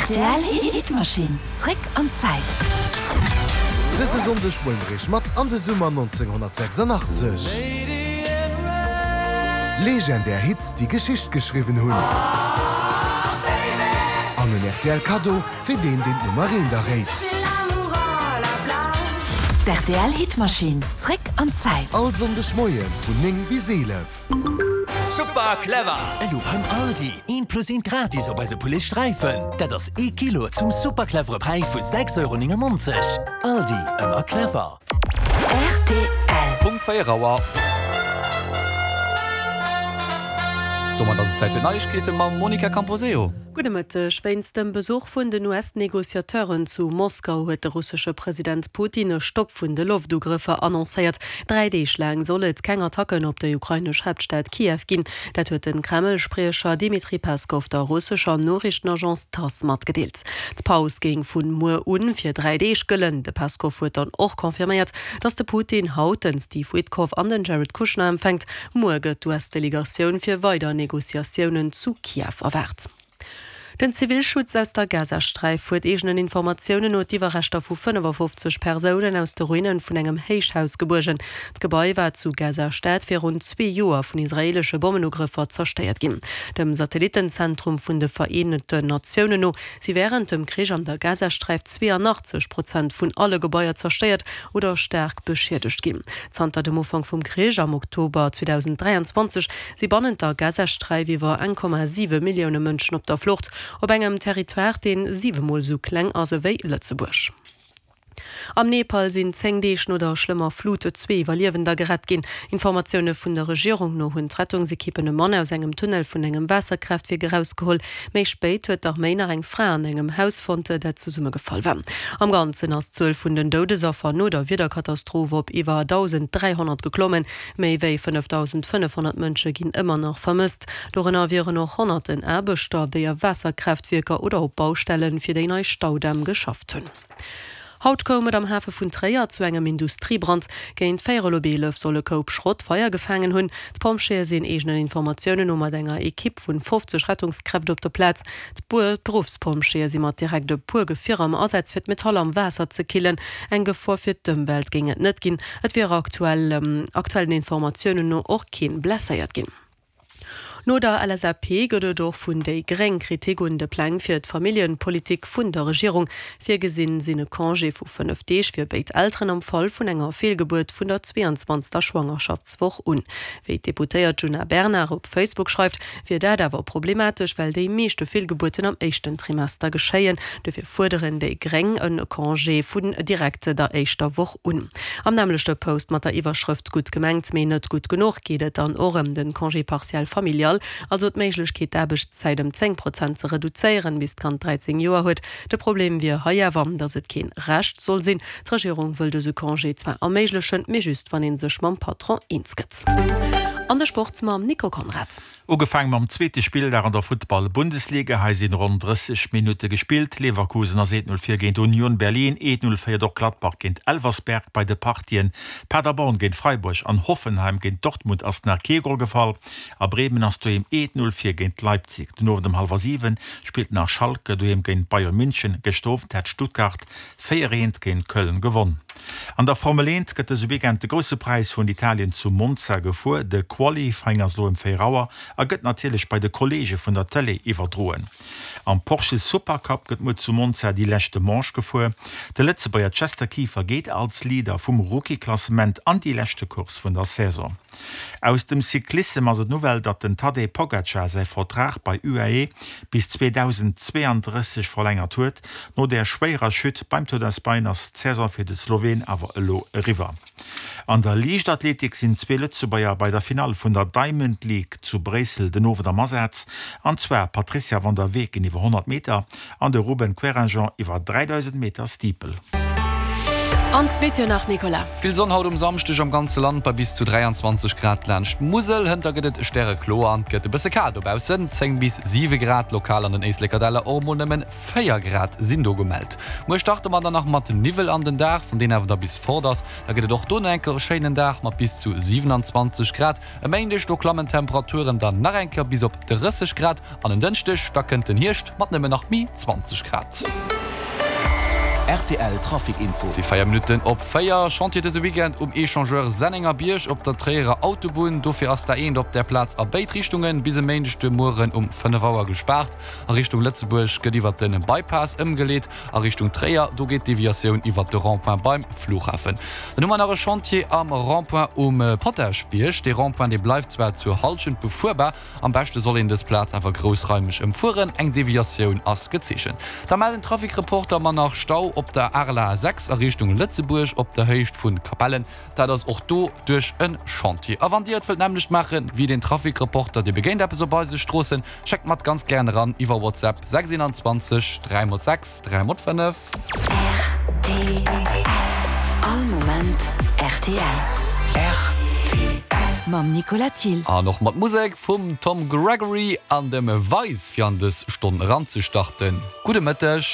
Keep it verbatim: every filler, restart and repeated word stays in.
Rtl Hitmaschinn, zréck an d'Zäit. Dëse Sonndeg huele mir iech mat an de Summer nonzénghonnertsechsundachtzeg. Legendär Hits, déi Geschicht geschriwwen hunn. An en R T L Kaddo fir deen, deen d'Nummer eent erréit. D' R T L Hitmaschinn, zréck an d'Zäit. All Sonndeg Moie vun néng bis eelef. Super clever! Elo beim Aldi. Eent plus eent gratis op eise Poulet Sträifen. Dat ass ee Kilo zum super clevere Präis vu sechs Euro néngennonzeg. Aldi, ëmmer clever. R T L. Punkt véier Auer. Domat ass et Zäit fir Neiegkeete mam Monica Camposeo. Gudde Mëtteg. Wéinst dem Besuch vun den U S-Negociateuren zu Moskau huet de russesche President Putin e Stopp vun de Loftugrëffer annoncéiert. Dräi Deeg laang soll et keng Attacken op déi ukrainesch Haaptstad Kiew ginn. Dat huet de Kreml-Spriecher Dmitri Peskov der russescher Noriichtenagence TASS matgedeelt. D'Paus géing vu muer un fir dräi Deeg gëllen. De Peskov huet dann och confirméiert, datt de Putin haut den Steve Witkoff an den Jared Kushner empfänkt. Muer gëtt d'U S-Delegatioun fir weider Negociatiounen zu Kiew erwaart. Den Zivilschutz aus der Gazasträif huet eegenen Informatiounen no d'Iwwerreschter vu fënnefafofzeg Persounen aus de Ruine vun engem Héichhaus gebuergen. D'Gebai war zu Gaza-Stad virun zwee Joer vun israeelesche Bommenugrëffer zerstéiert ginn. Dem Satellittenzentrum vun de Vereenten Natiounen no si wärend dem Krich an der Gazasträif zweeanachtzeg Prozent vun alle Gebaier zerstéiert oder staark beschiedegt ginn. Zanter dem Ufank vum Krich am Oktober zweedausend dräianzwanzeg si bannent der Gazasträif iwwer eng Komma siwe Millioune Mënschen op der Flucht, op engem Territoire, dee siwe Mol sou kleng ass ewéi Lëtzebuerg. Am Nepal sinn zéng Deeg no der schlëmmer Flut zwee Iwwerliewender gerett ginn. Informatioune vun der Regierung no hunn d'Rettungsekippen e Mann aus engem Tunnel vun engem Waasserkraaftwierk erausgeholl. Méi spéit huet d'Arméi nach eng Fra an engem Haus fonnt, dat zesummegefall war. Am Ganzen ass d'Zuel vun den Doudesaffer no der Wiederkatastroph op iwwer dausend dräihonnert geklommen. Méi wéi fënnefdausend fënnefhonnert Mënsche ginn ëmmer nach vermësst. Dorënner wieren och honnerten Aarbechter, déi a Waasserkraaftwierker oder op Baustelle fir déi nei Staudämm geschafft hunn. Haut koum et am Hafe vun Tréier zu engem Industriebrand. Géint véierel op eelef soll e Koup Schrott Feier gefaangen hunn. D'Pompjeeë sinn eegenen Informatiounen no mat enger Ekipp vun fofzeg Rettungskräften op der Plaz. D'Beruffspompjeeë si mat direkt e puer Gefierer am Asaz fir d'Metall am Waasser ze killen. Eng Gefor fir d'Ëmwelt géing et net ginn. Et wier aktuell aktuellen Informatiounen no och kee blesséiert ginn. No der L S A P gëtt et och vun déi Gréng Kritik un de Pläng fir d'Familljepolitik vun der Regierung. Virgesinn sinn e Congé vu fënnef Deeg fir béid Elteren am Fall vun enger Feelgebuert vun der zweeanzwanzegster Schwangerschaftswoch un. Wéi d'Deputéiert Djuna Bernard op Facebook schreift, wier dat awer problematesch, well déi meeschte Feelgebuerten am éischten Trimester geschéien. Dofir fuerderen déi Gréng e Congé vun direkt der éischter Woch un. Am nämmlechte Post mat der Iwwerschrëft "Gutt gemengt, mee net gutt genuch" geet et dann och ëm de Congé partiel familial, also d'Méiglechkeet, d'Aarbechtszäit ëm zéng Prozent ze reduzéieren, bis d'Kand dräizéng Joer huet. De Problem wier hei awer, datt et keen Recht soll sinn. D'Regierung wëll dëse Congé zwar erméiglechen, mee just wann ee sech mam Patron eens gëtt. An de Sport mam Nico Conrad. Ugefaangen mam zweete Spilldag an der Futtball-Bundesliga. Hei sinn ronn drësseg Minutte gespillt. Leverkusen ass eent null vir géint Union Berlin, eent null féiert och Gladbach géint Elversberg. Bei de Partien Paderborn géint Freiburg an Hoffenheim géint Dortmund ass nach kee Gol gefall. A Bremen ass doheem eent null vir géint Leipzig. Den Owend um hallwer siwen spillt nach Schalke doheem géint Bayern München. Gëschter Owend hat Stuttgart véier eent géint Köln gewonn. An der Formel eent gëtt dëse Weekend de Grousse Präis vun Italien zu Monza gefuer. De Qualifying ass elo ëm véier Auer a gëtt natierlech bei de Kolleege vun der Tëlee iwwerdroen. Am Porsche Supercup gëtt muer zu Monza déi leschte Manche gefuer. De Lëtzebuerger Chester Kieffer geet als Leader vum Rookie-Klassement an déi leschte Course vun der Saison. Aus dem Cyclissem ass et d'Nouvelle, datt den Tadej Pogacar säi Vertrag bei U A E bis zweedausend zweeandrësseg verlängert huet. No der schwéierer Chute beim Tour d'Espagne ass d'Saison fir de Sloween awer elo eriwwer. An der Liichtathletik sinn zwee Lëtzebuerger bei der Finall vun der Diamond League zu Bréissel den Owend am Asaz, an zwar d'Patrizia van der Weken iwwer honnert Meter an de Ruben Querinjean iwwer dräidausend Meter Steeple. An d'Meteo nach, Nicolas. Vill Sonn haut um Samschdeg am ganze Land bei bis zu dräianzwanzeg Grad laanscht d'Musel. Hënter gëtt et stärekloer an et gëtt e bësse kal dobaussen, zéng bis siwe Grad, lokal an den Éisleker Däller och emol nëmmen véier Grad sinn do gemellt. Muer starte mer dann nach mat Niwwel an den Dag, wann deen awer da bis fort ass, da gëtt et och do nach eng Kéier e schéinen Dag mat bis zu siwenanzwanzeg Grad. E Méindeg, do klammen d'Temperaturen dann nach eng Kéier bis op drësseg Grad an en Dënschdeg, da kënnt den Hierscht mat nëmmen nach méi zwanzeg Grad. Rtl Trafic Info. Et si véier Minutten op véier. Chantier dëse Weekend um Echangeur Sennengerbierg op der Tréierer Autobunn. Dofir ass d'A eent op där Plaz a béid Richtungen bis e Méindeg de Mueren um fënnef Auer gespaart. A Richtung Lëtzebuerg gëtt iwwert de Bypass ëmgeleet. A Richtung Tréier, do geet d'Deviatioun iwwert de Rond-point beim Flughafen. Dann hu mer nach e Chantier am Rond-point um Potaschbierg. Dee Rond-point, dee bleift zwar zur Hallschent befuerbar. Am beschte soll een dës Plaz awer groussraimeg ëmfueren. Eng Deviatioun ass gezeechent. Da mellen d'Trafic-Reporter mer nach Stau op der Arla sechs a Richtung Lëtzebuerg op der Héicht vu Capellen. Dat ass och do duerch e Chantier. A wann Dir et wëllt nämmlecht maache wéi den Trafic-Reporter, Dir begéint eppes op eise Stroossen, schéckt mer et ganz gären eran iwwer WhatsApp sechs eenanzwanzeg dräi mol sechs dräi mol fënnef. Rtl, All Moment rtl. Rtl. Mam Nicolas Thill. An och mat Musek vum Tom Gregory an dem Vice fir an dës Stonn eranzestarten. Gudde Mëtteg.